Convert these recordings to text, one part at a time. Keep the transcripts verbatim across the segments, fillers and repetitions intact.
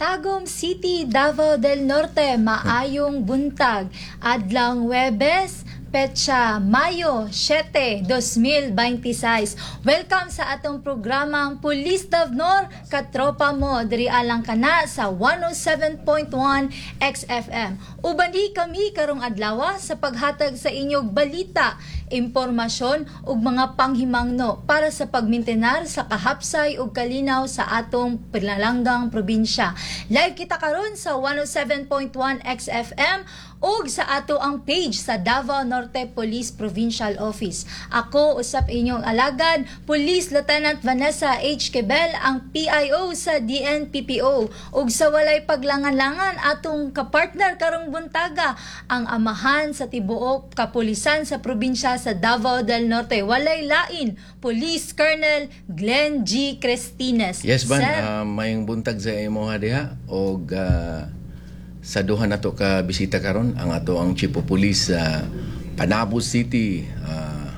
Tagum City, Davao del Norte, maayong buntag. Adlawng Webes, petsa Mayo siyete, dalawampu't siyam. Welcome sa atong programang Pulis Davnor, katropa mo, diri alang kana sa one oh seven point one X F M. Uban di kami karong adlaw sa paghatag sa inyong balita, impormasyon ug mga panghimangno para sa pagmintenar sa kahapsay ug kalinaw sa atong pinalanggang probinsya. Live kita karon sa one oh seven point one X F M ug sa ato ang page sa Davao Norte Police Provincial Office. Ako usap inyong alagad, Police Lieutenant Vanessa H. Quebel, ang P I O sa D N P P O. Ug sa walay paglangan-langan, atong kapartner karong buntaga, ang amahan sa tibuok kapulisan sa probinsya sa Davao del Norte. Walay lain, Police Colonel Glenn G. Crestines. Yes, Van, Sir, uh, mayong buntag sa imo diha og uh, sa duha nato ka bisita karon, ang ato ang Chief of Police sa Panabo City uh,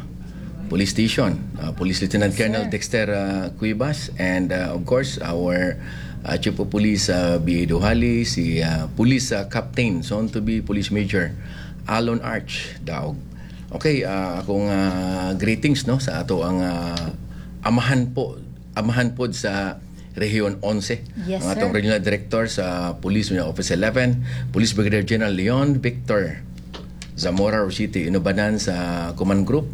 Police Station, uh, Police Lieutenant Colonel Sir. Dexter uh, Cuevas and uh, of course our uh, Chief of Police uh, B A. Dujali, si uh, Police uh, Captain, soon to be Police Major Alon Arch Daog. Okay, uh, akong uh, greetings, no, sa ato ang uh, amahan po amahan pod sa Rehiyon onse. Yes, ang atong sir. Regional Director sa Police Office eleven, Police Brigadier General Leon Victor Zamora Rositi, inubanan sa Command Group.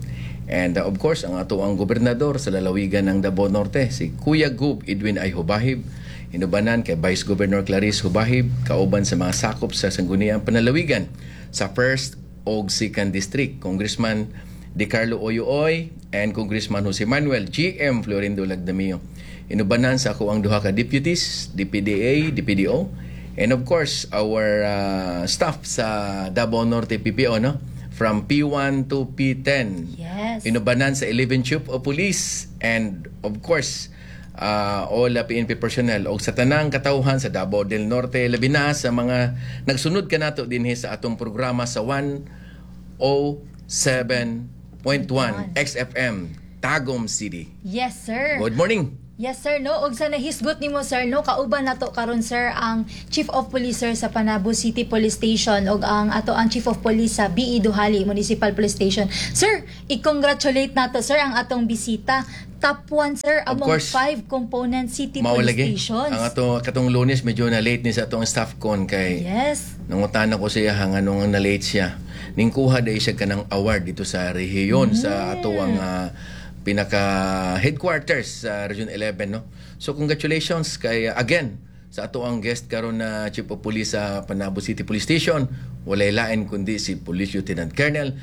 And uh, of course, ang ato ang gobernador sa lalawigan ng Davao Norte, si Kuya Gub Edwin I. Hubahib, inubanan kay Vice Governor Clarice Hubahib, kauban sa mga sakop sa Sangguniang Panlalawigan sa first og second District, Congressman De Carlo Oyooy and Congressman Jose Manuel G M. Florindo Lagdameo. Inubanan sa ako ang duha ka deputies, D P D A, D P D O, and of course, our uh, staff sa Davao Norte P P O, no? From P one to P ten. Yes. Inubanan sa eleven Chief of Police and of course, uh, all uh, P N P personnel o sa tanang katawhan sa Davao del Norte, labi na sa mga nagsunod kanato dinhi sa atong programa sa one oh seven point one X F M Tagum City. Yes, sir. Good morning. Yes, sir, no. Ug sa nahisgot nimo, sir, no, kauban nato karon, sir, ang Chief of Police, sir, sa Panabo City Police Station ug ang ato ang Chief of Police sa B E. Dujali Municipal Police Station. Sir, i-congratulate nato, sir, ang atong bisita. Top one, sir, Of among course. five component city Mao police lagi. stations. Ang ato katong Lunes medyo na late ni sa atong staff con kay Yes. nangutana ko siya hang anong na late siya. Ningkuha dahil siya kanang award dito sa rehiyon sa ato ang ah, pinaka headquarters sa Region eleven, no. So congratulations kay ah, again sa ato ang guest karon na Chief of Police sa Panabo City Police Station, walay lain kundi si Police Lieutenant Colonel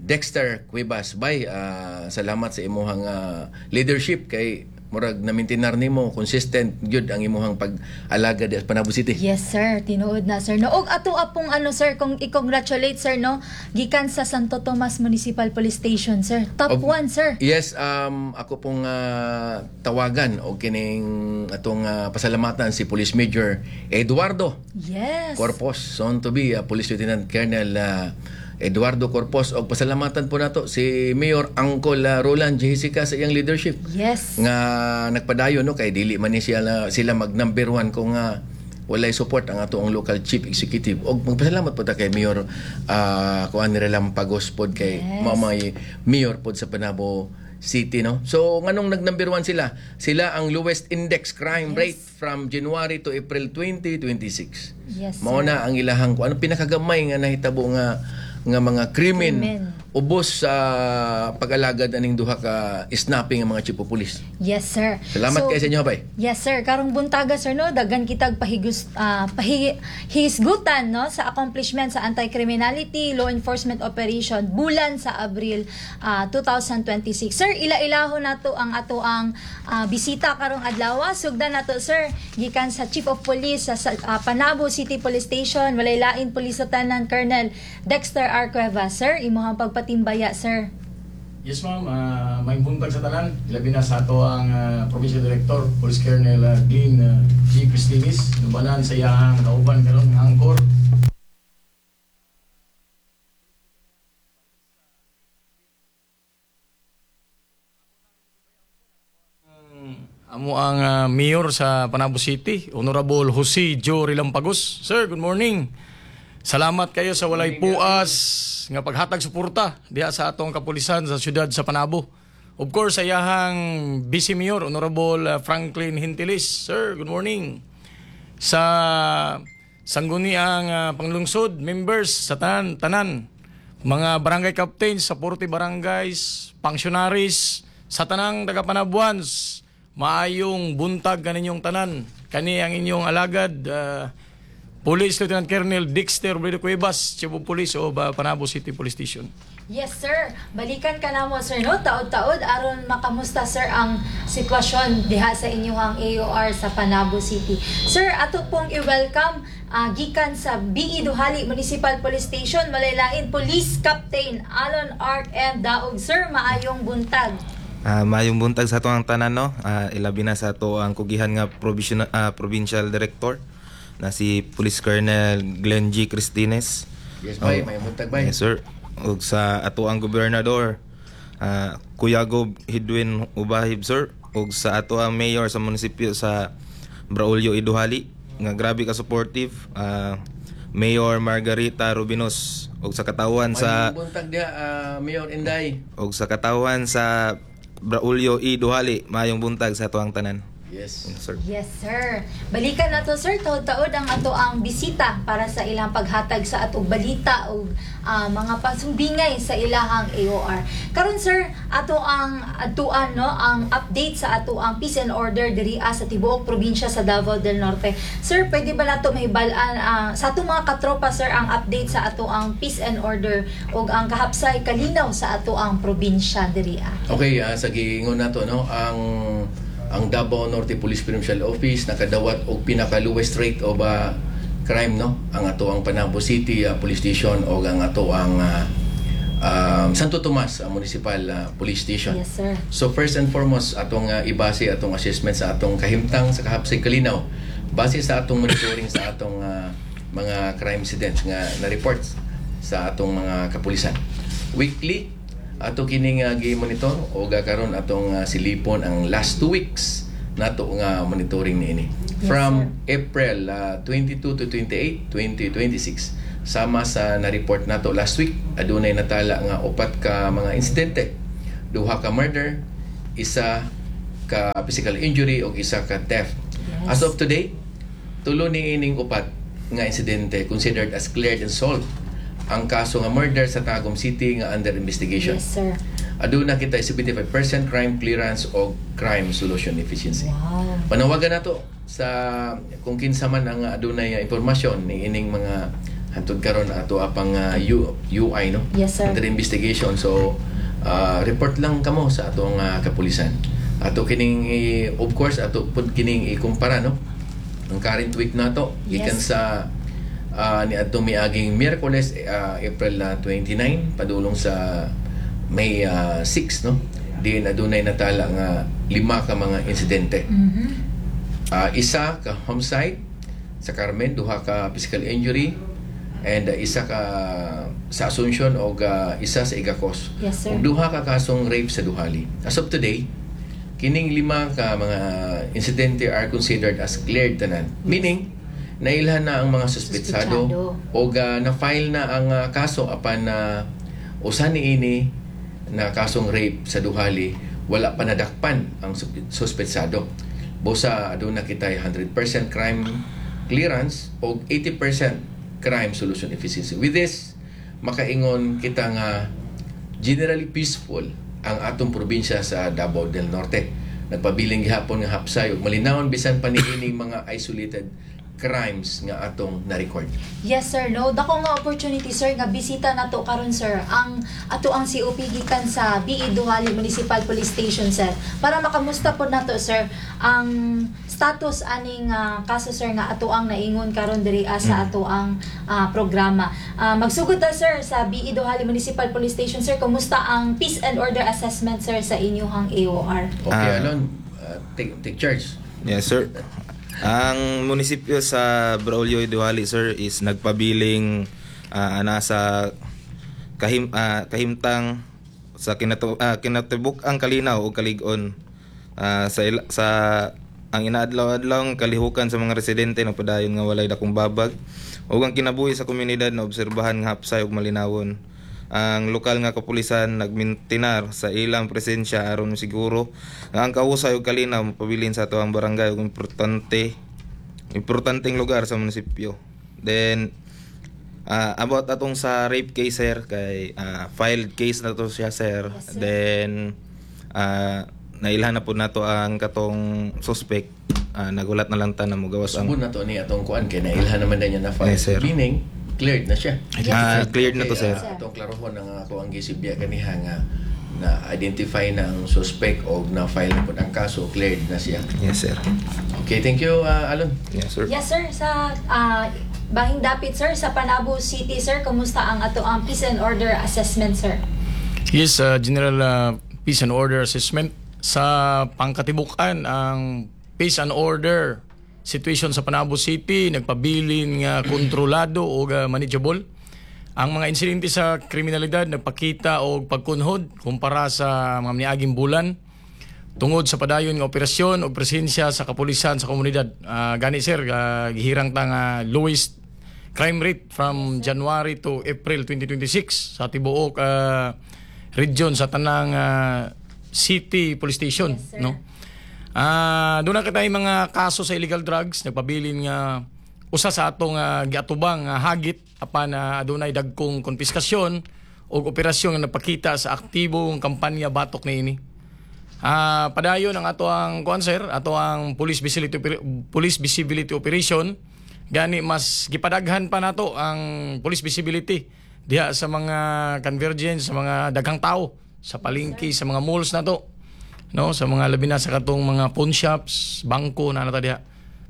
Dexter Cuevas. Bay, ah, salamat sa imuhang ah, leadership kay murag na-maintain nimo, consistent gyud ang imuhang pag-alaga di sa Panabo City. Yes, sir, tinuod na, sir, no. Og ato apong ano, sir, kung i-congratulate, sir, no, gikan sa Santo Tomas Municipal Police Station, sir. Top Of- one, sir. Yes, um, ako pong ah, tawagan o kining atong ah, pasalamatan si Police Major Eduardo Yes. Corpus, soon to be ah, Police Lieutenant Colonel ah, Eduardo Corpus, og pasalamatan po nato si Mayor Uncle ah, Roland Jessica sa iyang leadership Yes. nga nagpadayon, no, kay dili man ni sila sila mag number one kung uh, walay support ang ato ang local chief executive. Og magpasalamat po ta kay Mayor uh, kuan ni Relampagos pod kay Yes. mao may mayor pod sa Panabo City, no. So nganong nag number one sila? Sila ang lowest index crime Yes. rate from January to April twenty twenty-six. Yes, Mao sir. na ang ilahang kung ano pinakagamay nga nahitabo nga nga mga krimen Krimen. ubos sa pag-alagad aning duha ka snapping ang mga chief of police. Yes, sir. Salamat So, kay sa inyo, bay. Yes, sir. Karong buntaga, sir, no, daghan kitag pahigus ah, pahihisgutan, no, sa accomplishment sa anti-criminality law enforcement operation bulan sa Abril ah, twenty twenty-six. Sir, ila-ilahon nato ang ato ang ah, bisita karong adlaw. Sugdan nato, sir, gikan sa Chief of Police sa, sa ah, Panabo City Police Station, walay lain, Police Lieutenant Colonel Dexter R. Cuevas. Sir, imuhang pagpatimbaya, sir. Yes, ma'am, uh, may buntag sa tanan. Labi na sa ato ang ah, Provincial Director, Police Colonel ah, Glenn ah, G. Cristinis. Nubanan sa iyang kauban karon nga angkor. Ang amo amo ang ah, mayor sa Panabo City, Honorable Jose Joe Relampagos. Sir, good morning. Salamat kayo sa walay puas nga paghatag suporta diha sa atong kapulisan sa siyudad sa Panabo. Of course, sa iyahang Vice Mayor, Honorable ah, Franklin Hintilis. Sir, good morning. Sa sangguniang uh, panglungsod, members sa tanan, tanan, mga barangay captains sa forty barangays, functionaries, sa tanang taga Panabuans, maayong buntag kaninyong tanan. Kani ang inyong alagad, ah, Police Lieutenant Colonel Dexter Robredo Cuevas, Chief of Police of uh, Panabo City Police Station. Yes, sir. Balikan ka na mo, sir, no? Taod-taod, aron makamusta, sir, ang sitwasyon diha sa inyong A O R sa Panabo City. Sir, ato pong i-welcome ah, gikan sa B E. Dujali Municipal Police Station, malaylain Police Captain Alon Art M. Daog. Sir, maayong buntag. Ah, maayong buntag sa ato ang tanan, no. Ah, ilabi na sa ato ang kugihan nga provisional ah, provincial director na si Police Colonel Glenn G. Cristines. Yes, bay, Oh. may buntag, bay. Yes, sir. Ug sa ato ang gobernador, ah, Kuya Gob Hidwin Ubahib, sir. Ug sa ato ang mayor sa munisipyo sa Braulio E. Dujali nga grabe ka supportive, ah, Mayor Margarita Rubinos, ug sa katawan sa Maayong buntag diha, ah, Mayor Inday. Ug sa katawan sa Braulio E. Dujali, maayong buntag sa atuang tanan. Yes. Sir. Yes, sir. Balikan na to, sir. Taod-taod ang ato ang bisita para sa ilang paghatag sa atong balita o ah, mga pasumbingay sa ilahang A O R. Karon, sir, ato ang atuan, no, ang update sa ato ang peace and order diri ah, sa tibuok probinsya sa Davao del Norte. Sir, pwede ba nato mahibal-an ah, sa atong mga katropa, sir, ang update sa ato ang peace and order ug ang kahapsay kalinaw sa ato ang probinsya diri ah? Okay, ah, sa giingon nato, no, ang ang Davao Norte Police Provincial Office nakadawat og pinaka lowest rate of ah, crime, no, ang ato ang Panabo City ah, Police Station o ang ato ang ah, um, Santo Tomas ah, Municipal ah, Police Station. Yes, sir. So first and foremost, atong uh, ibase atong assessment sa atong kahimtang sa kahapsay kalinaw base sa atong monitoring sa atong ah, mga crime incidents nga na reports sa atong mga kapulisan. Weekly ato kining uh, gi-monitor o karon atong ah, silipon ang last two weeks nato nga monitoring niini. Yes, From April ah, twenty-two to twenty-eight, twenty twenty-six, sama sa na-report nato last week, adunay natala nga upat ka mga insidente: duha ka murder, isa ka physical injury ug isa ka theft. Yes. As of today, tulo ni ining upat nga insidente considered as cleared and solved. Ang kaso nga murder sa Tagum City nga under investigation. Yes, sir. Aduna kita seventy-five percent crime clearance o crime solution efficiency. Wow. Panawagan nato sa kung kinsa man ang adunay nga impormasyon ni ining mga hantod karon ato apang uh, U, U I, no? Yes, sir. Under investigation, so uh, report lang kamo sa atong uh, kapulisan. Ato kining i- of course ato pud kining ikumpara, no, ang current week nato gikan Yes. sa uh, ni adtong miaging Miyerkules, uh, April uh, twenty-nine padulong sa May uh, six, no, diin adunay natala nga lima ka mga insidente. Mhm. Ah, isa ka homicide sa Carmen, duha ka physical injury, and uh, isa ka sa Asuncion o isa sa Igacos. Yes, sir. Ug duha ka kasong rape sa Dujali. As of today, kining lima ka mga insidente are considered as cleared tanan. Meaning, nailhan na ang mga suspetsado Suspetsado. o uh, na-file na ang uh, kaso, apan na usa niini na kasong rape sa Dujali, wala pa nadakpan ang sup- suspetsado. Busa aduna kita one hundred percent crime clearance o eighty percent crime solution efficiency. With this, makaingon kita nga generally peaceful ang atong probinsya sa Davao del Norte. Nagpabiling gihapon nga hapsay ug malinawon bisan pa niining mga isolated crimes nga atong na-record. Yes, sir, no. Dako nga opportunity, sir, nga bisita nato karon, sir, ang ato ang C O P gikan sa B E. Dujali Municipal Police Station, sir. Para makamusta po nato, sir, ang status aning ah, kaso, sir, nga ato ang naingon karon diri ah, sa ato ang ah, programa. Ah, magsugod ta, sir, sa B E. Dujali Municipal Police Station, sir. Kumusta ang peace and order assessment, sir, sa inyong A O R? Okay, Ah. Alon, uh, take, take charge. Yes, sir. Ang munisipyo sa Braulio Dujali, sir, is nagpabiling ah, nasa kahim ah, kahimtang sa kinatu ah, kinatibuk ang kalinaw o kalig-on. Ah, sa ila- sa Ang inaadlaw-adlaw nga kalihukan sa mga residente nagpadayon nga walay dakong babag ug ang kinabuhi sa komunidad na obserbahan nga hapsay ug malinawon. Ang lokal nga kapulisan nagmintinar sa ilang presensya aron siguro nga ang kausay ug kalinaw mapabilin sa atoang barangay ug importante importanteng lugar sa munisipyo. Then ah, about atong sa rape case, sir, kay ah, filed case na to siya, sir. Yes, sir. Then ah, nailhan na po nato ang katong suspect. Ah, nagulat na lang ta na mugawas ang Subod na to ni atong kuan kay nailhan naman na niya na file. Yes, sir. Meaning cleared na siya. Ah, cleared na to, Okay, sir. ah, atong klarohon ang ako ang gisibya kaniha nga na identify na ang suspect o na file na po ang kaso, cleared na siya. Yes, sir. Okay, thank you, ah, Alon. Yes, sir. Yes, sir. Sa ah, bahing dapit, sir, sa Panabo City, sir, kumusta ang ato ang peace and order assessment, sir? Yes, uh, General uh, Peace and Order Assessment. Sa pangkatibukan, ang peace and order situation sa Panabo City nagpabilin nga kontrolado o uh, manageable. Ang mga insidente sa kriminalidad nagpakita og pagkunhod kumpara sa mga niaging bulan tungod sa padayon nga operasyon o presensya sa kapulisan sa komunidad. Ah, gani sir, uh, gihirang ta nga lowest crime rate from January to April twenty twenty-six sa tibuok ah, region sa tanang ah, city police station, Yes, sir. no? Ah, doon na kitay mga kaso sa illegal drugs, nagpabilin nga usa sa atong uh, giatubang nga hagit apan uh, adunay dagkong konpiskasyon ug operasyon nga napakita sa aktibong kampanya batok niini. Ah, padayon ang ato ang kuan, sir, ato ang police visibility oper- police visibility operation. Gani mas gipadaghan pa nato ang police visibility diha sa mga convergence sa mga daghang tao sa palengke, sa mga malls nato. No, sa mga labi na sa katong mga pawn shops, bangko na nata diha.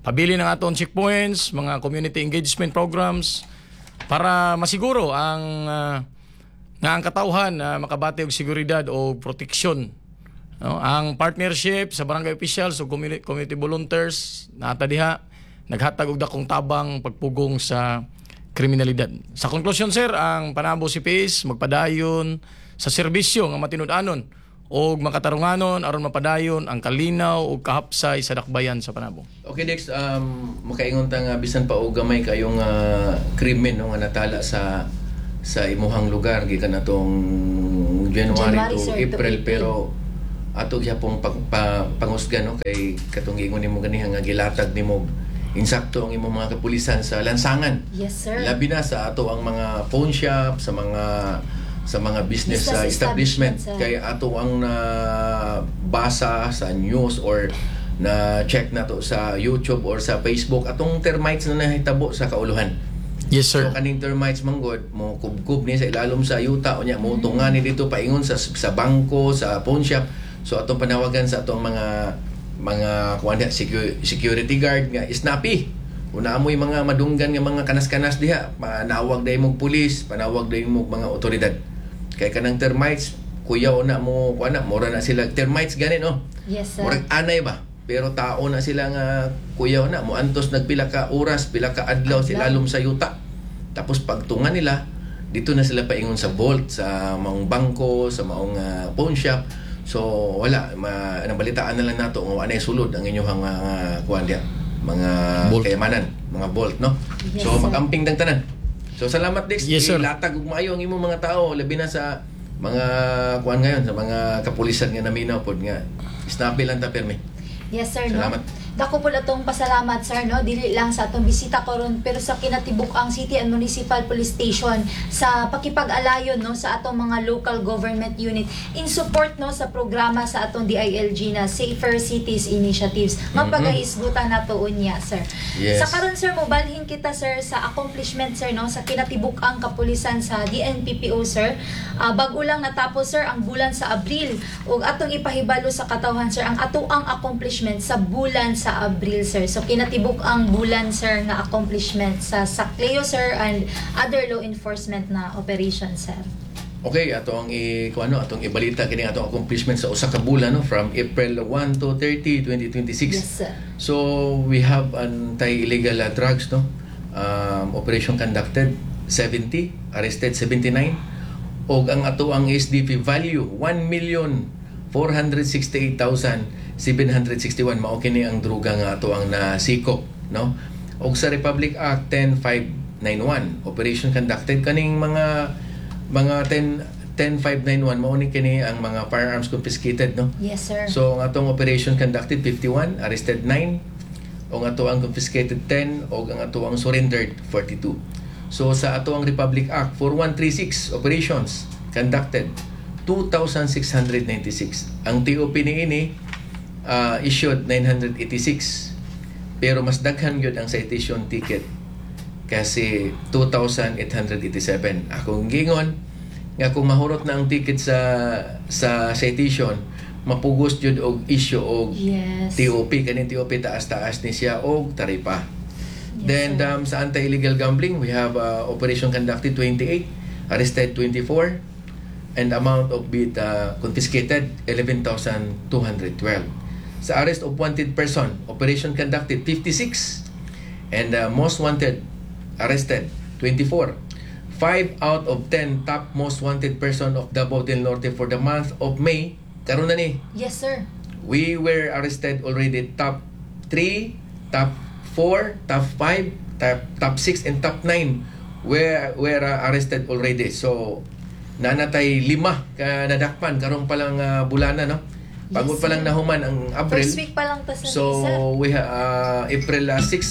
Pabilin ang atong checkpoints, mga community engagement programs para masiguro ang ah, nga ang katawhan na makabati og seguridad o proteksyon. No, ang partnership sa barangay officials o community, community volunteers nata diha naghatag og dakong tabang pagpugong sa kriminalidad. Sa konklusyon, sir, ang Panabo C P S magpadayon sa serbisyo nga matinud-anon og makatarunganon aron mapadayon ang kalinaw ug kahapsay sa dakbayan sa Panabo. Okay, Dex, um, makaingon ta nga bisan pa og gamay kayong uh, krimen, no, nga natala sa sa imuhang lugar gikan atong January, January, to sir, to April, April. Pero ato gyapong pag, pa, pangusgan, no, kay katong giingon nimo ganiha nga gilatag nimo insakto ang imong mga kapulisan sa lansangan. Yes, sir. Labi na sa ato ang mga pawn shop, sa mga sa mga business, Business uh, establishment establishment, sir. Kay ato ang nabasa sa news or na check na to sa YouTube or sa Facebook atong termites na nahitabo sa kauluhan. Yes, sir. So kaning termites manggod mo kubkub ni sa ilalom sa yuta, unya mo tunga ni dito paingon sa sa bangko, sa pawn shop. So atong panawagan sa atong mga mga kuan diha, secu- security guard nga snappy. Kung naamoy mga madunggan nga mga kanas-kanas diha, panawag dahil mong pulis, panawag dahil mong mga otoridad. Kay kanang termites, kuyaw na mo kuan na, mura na sila termites gani, no. Yes, sir. Murag anay ba? Pero tao na sila nga kuyaw na moantos nagpila ka oras, pila ka adlaw sila lalom sa yuta. Tapos pagtunga nila, dito na sila paingon sa vault, sa maong bangko, sa maong ah, pawn shop. So wala, ma, nabalitaan na lang nato nga anay sulod ang inyong uh, kuan diha, mga Vault. kayamanan, mga vault, no. Yes, So sir. magamping tang tanan. So salamat, Dex. Yes, sir. Ilatag og maayo ang imong mga tao labi na sa mga kuan ngayon, sa mga kapulisan nga naminaw pod nga snappy lang ta permi. Yes, sir, no? Salamat. Dako po atong pasalamat, sir, no? Dili lang sa atong bisita karon pero sa kinatibuk-ang City and Municipal Police Station sa pakipag-alayon, no, sa atong mga local government unit in support, no, sa programa sa atong D I L G na Safer Cities Initiatives. Mapagahisgutan nato unya, sir. Yes. Sa karon, sir, mobalhin kita, sir, sa accomplishment, sir, no, sa kinatibuk-ang kapulisan sa D N P P O, sir. Ah, bag-o lang natapos, sir, ang bulan sa Abril ug atong ipahibalo sa katawhan, sir, ang atoang accomplishment sa bulan sa Abril, sir. So kinatibuk-ang bulan, sir, nga accomplishment sa Sacleo, sir, and other law enforcement na operation, sir. Okay, ato ang i kung ano atong ibalita kini atong accomplishment sa usa ka bulan, no, from April one to thirty, twenty twenty-six. Yes, sir. So we have anti-illegal uh, drugs, no. Um, operation conducted seventy, arrested seventy-nine og ang ato ang S D P value one million four hundred sixty-eight thousand seven hundred sixty-one mao kini ang druga nga ato ang nasikop, no? Og sa Republic Act ten five ninety-one, operation conducted, kaning mga mga ten ten five ninety-one, mao ni kini ang mga firearms confiscated, no? Yes, sir. So ang atong operation conducted fifty-one, arrested nine, o ang ato ang confiscated ten, o ang ato ang surrendered forty-two. So sa ato ang Republic Act forty-one thirty-six, operations conducted two thousand six hundred ninety-six. Ang T O P niini uh, issued nine hundred eighty-six. Pero mas daghan gyud ang citation ticket kasi two thousand eight hundred eighty-seven. Akong gingon nga kung mahurot na ang ticket sa sa citation, mapugos jud og issue og Yes. T O P. Kaning T O P, taas-taas ni siya og taripa. Yes, Then sir. um, sa anti-illegal gambling, we have uh, operation conducted twenty-eight, arrested twenty-four, and amount of bit uh, confiscated eleven thousand two hundred twelve. Sa arrest of wanted person, operation conducted fifty-six, and uh, most wanted arrested twenty-four. five out of ten top most wanted person of Davao del Norte for the month of May. Karon na ni, Yes, sir. we were arrested already top three, top four, top five, top top six and top nine were were uh, arrested already. So nanatay lima ka nadakpan karon pa lang uh, bulana, no? Pagod Yes, pa lang sir. nahuman ang April. First week pa lang ta sa So sir. we ha, uh, April uh, six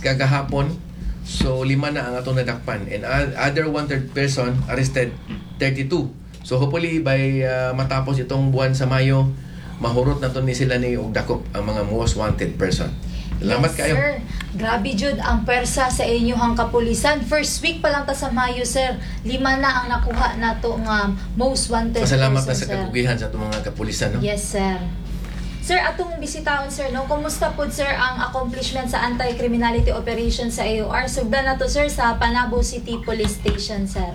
kagahapon. So lima na ang atong nadakpan and uh, other wanted person arrested thirty-two. So hopefully by uh, matapos itong buwan sa Mayo, mahurot na to ni sila ni og dakop ang mga most wanted person. Salamat Yes, kayo. sir. Grabe jud ang pwersa sa inyong kapulisan. First week pa lang ta sa Mayo, sir. Lima na ang nakuha nato nga most wanted Pasalamat na person, sa sir. kagugihan sa atong mga kapulisan, no? Yes, sir. Sir, atong bisitaon, sir, no? Kumusta po, sir, ang accomplishment sa anti-criminality operation sa A O R? Sugdan na to, sir, sa Panabo City Police Station, sir.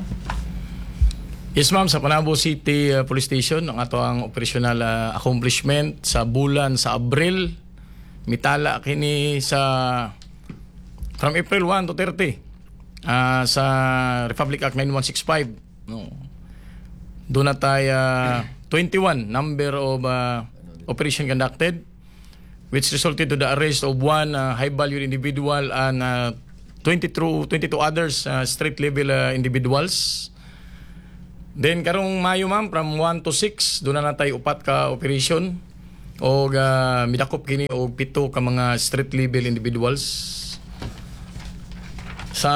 Yes, ma'am, sa Panabo City uh, Police Station ang ato ang operational uh, accomplishment sa bulan sa Abril, mitala kini sa from April one to thirty ah, sa Republic Act nine one six five, no? Doon na tayo uh, twenty-one number of uh, operation conducted, which resulted to the arrest of one uh, high value individual and uh, twenty-two twenty-two others uh, street level uh, individuals. Then karong Mayo, ma'am, from one to six, doon na natay upat ka operation og uh, midakop kini og pito ka mga street level individuals. Sa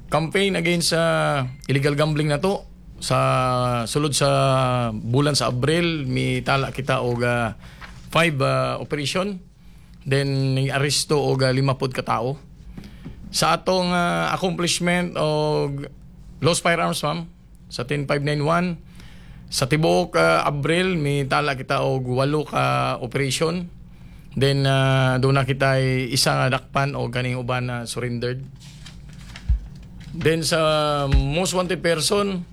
campaign against sa illegal gambling na to sa sulod sa bulan sa Abril, mitala kita og uh, five uh, operation, then ning aresto og uh, lima pod ka tawo. Sa atong uh, accomplishment og lost firearms, ma'am, sa ten five ninety-one, sa tibuok uh, Abril mitala kita og walo ka operation, then uh, doon na kita isa nga dakpan og kaning uban na surrendered. Then sa most wanted person,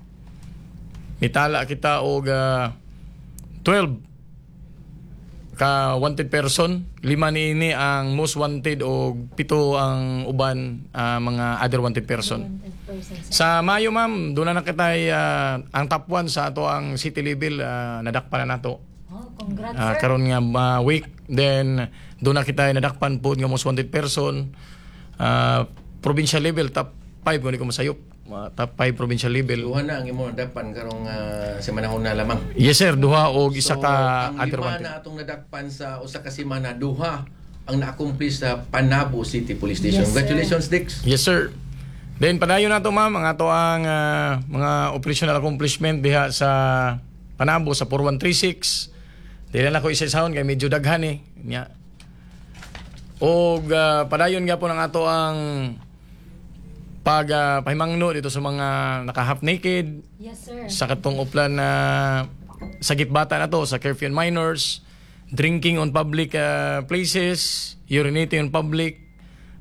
mitala kita og uh, twelve ka wanted person. Lima niini ang most wanted og pito ang uban, ah, mga other wanted person. Wanted person, sir. Sa Mayo, ma'am, doon na nakita ang top one sa ato ang city level, ah, nadakpan na nato. Oh, congrats, Ah, sir. Karon nga ma week, then doon na kita nadakpan po nga most wanted person. Ah, provincial level top five kung di ko masayop. Ah, top five provincial level. Duha na ang imong nadakpan karong uh, semana na lamang. Yes, sir, duha og isa So, ka ang other lima wanted. na atong nadakpan sa usa ka semana, duha ang na-accomplish sa Panabo City Police Station. Yes, sir. Congratulations, Dix. Yes, sir. Then padayon na to, ma'am, ang ato ang ah, mga operational accomplishment diha sa Panabo sa four one three six. Dili na ko isa-isahon kay medyo daghan eh. Nya. Og ah, padayon nga po ng ato ang pag ah, pahimangno dito sa mga naka half naked Yes, sir. sa katong uplan na sagip bata na to, sa curfew and minors, drinking on public ah, places, urinating on public,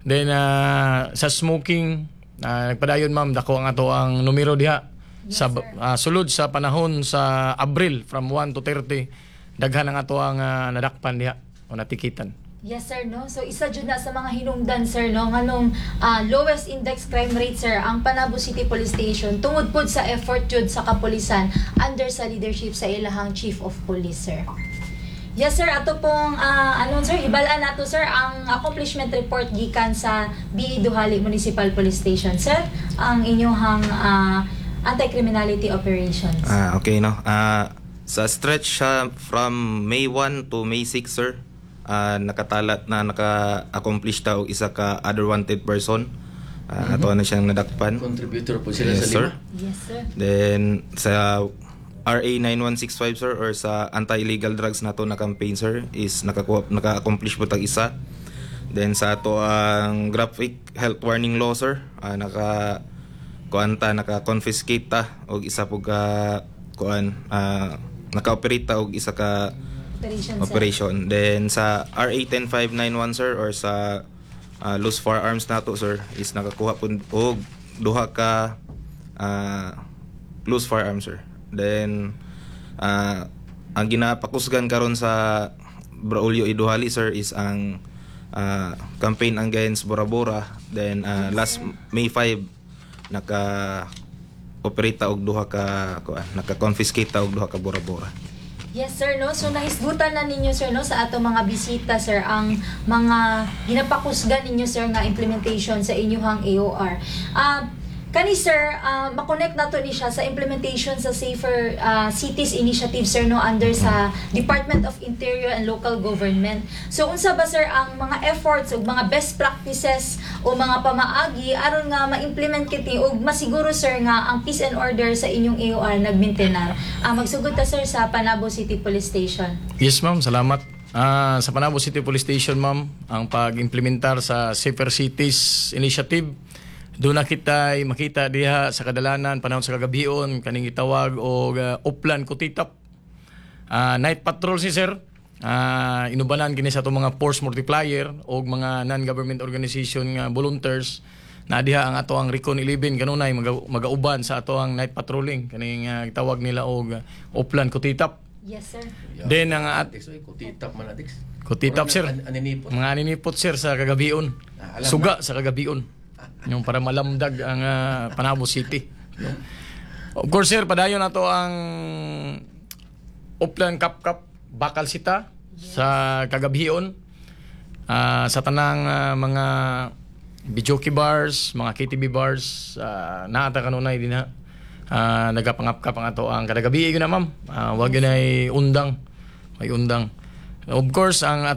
then ah, sa smoking, uh, nagpadayon, ma'am, dako ang ato ang numero diha sa ah, sulod sa panahon sa Abril from one to thirty, daghan ang ato ang ah, nadakpan diha o natikitan. Yes sir, no. So isa jud na sa mga hinungdan, sir, no, nganong ah, lowest index crime rate, sir, ang Panabo City Police Station tungod pod sa effort jud sa kapulisan under sa leadership sa ilahang Chief of Police, sir. Yes sir, ato pong ah, ano sir, hibalaan nato, sir, ang accomplishment report gikan sa B E. Dujali Municipal Police Station, sir, ang inyong ah, anti-criminality operations. Ah, okay, no. Ah, sa stretch siya from May one to May six, sir. Ah, nakatalat na naka-accomplish ta og isa ka other wanted person. Ah, ato na siyang nadakpan. Contributor po sila Yes, sa sir. lima. Yes sir. Then sa R A nine one six five, sir, or sa anti-illegal drugs nato na campaign, sir, is nakakuha naka-accomplish po tag isa. Then sa ato ang graphic health warning law, sir, ah, naka kuan ta, naka-confiscate ta og isa po ka kuan, ah, naka-operate ta og isa ka Operation, sir. Operation. Then sa R A one zero five nine one, sir, or sa uh, loose firearms nato, sir, is nakakuha pud og duha ka ah, loose firearms, sir. Then ah, ang ginapakusgan karon sa Braulio E. Dujali, sir, is ang ah, campaign against Bora-Bora. Then ah, last May five, naka operate ta og duha ka kuan, naka-confiscate ta og duha ka Bora-Bora. Yes sir, no. So nahisgutan na ninyo, sir, no, sa ato mga bisita, sir, ang mga ginapakusgan ninyo, sir, nga implementation sa inyuhang A O R. Ah, kani sir, ah, makonect nato ni siya sa implementation sa Safer ah, Cities Initiative, sir, no, under sa Department of Interior and Local Government. So unsa ba, sir, ang mga efforts ug mga best practices o mga pamaagi aron nga ma-implement kiti ug masiguro, sir, nga ang peace and order sa inyong A O R nagmaintenar? Ah, magsugod ta, sir, sa Panabo City Police Station. Yes, ma'am, salamat. Ah, sa Panabo City Police Station, ma'am, ang pag-implementar sa Safer Cities Initiative, doon na kita makita diha sa kadalanan panahon sa kagabion kaning gitawag og uh, Oplan Kutitap. Ah, night patrol si sir. Ah, inubanan kini sa atong mga force multiplier og mga non-government organization nga volunteers na diha ang ato ang Recon eleven kanunay maga, magauban sa ato ang night patrolling kaning uh, gitawag nila og uh, Oplan Kutitap. Yes sir. Then ang at Dix, oy, kutitap man na, Dix. Kutitap, sir. An- aninipot. Mga aninipot, sir, sa kagabion. Ah, alam. Suga sa kagabion. Yung para malamdag ang ah, Panabo City. No? Of course, sir, padayon na to ang Oplan Kap Kap Bakal Sita sa kagabion. Ah, sa tanang ah, mga videoke bars, mga K T V bars, uh, naata kanunay din ha. Uh, nagapangapkap ang ato ang kada gabi yun na, ma'am. Ah, wag yun ay undang. May undang. Of course, ang